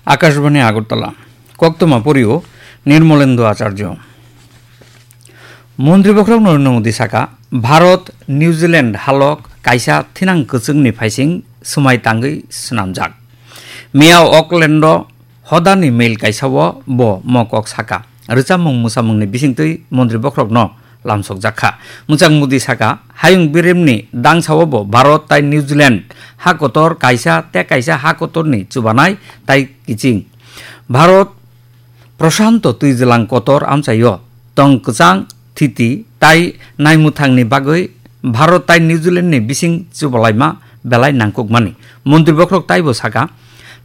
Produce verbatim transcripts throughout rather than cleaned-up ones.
Akashbani Agartala. Koktwma porio Nirmolendo Acharjo. Montri Bokhorok Narendra Modi saka, Bharat New Zealand halok kaisa thinang kwchwngni phaising swmai tangwi swnamjak. Miya Auckland-o hodani mail kaisao bo mokok saka. Rwchapmung mwsamungni bisingtwi Montri Bokhorokno lamsokjak kha. Mwchang Modi saka, hayung biremni dangsao bo Bharat tai New Zealand ha kotor kaisa tei kaisa ha kotorni chubanai tai kiching. Bharat Prashanto twijlang kotor amchaio tong kwchang thiti tai naimwthangni bagwi Bharat tai New Zealandni bising chubalaima belai nangkukmani. Montri Bokhorok taibo saka,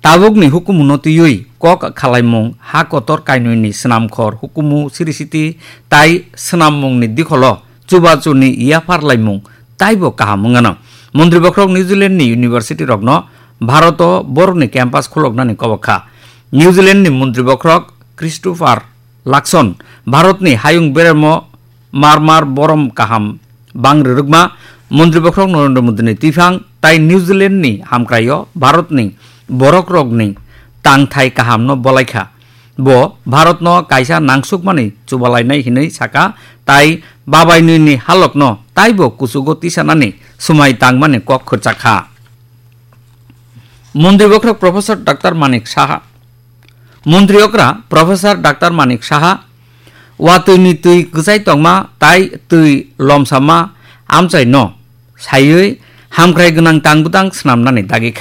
tabukni hukumuno twiwi kok khalaimung, ha kotor kainwini swnamkhor hukumu siri siti tai swnammungni dikholo chubachuni yaphar laimung taibo kaham wngano. Montri Bokhorok New Zealandni university rokno Bharoto borokni campus khuloknani kobok kha. New Zealandni Montri Bokhorok Christopher Luxon Bharatni hayung beremo mar mar borom kaham bang rwrwkma. Montri Bokhorok Narendra Modini twiphang tai New Zealandni hamkraio Bharatni borokrokni tangthai kahamno bolaikha. Bo Bharatno kaisa nangsukmani chubalainai hinwi saka, tai babainwini halokno taibo kuchugo tisanani swmai tangmani kok khurchakha. Montri Bokhorok Professor Doctor Manik Saha. Montri okra Professor Doctor Manik Saha watwini twi kwchai tongma tai twi lomsama amchaino saiwi hamkrai gwnang tang bwtang swnamnani dagi kha.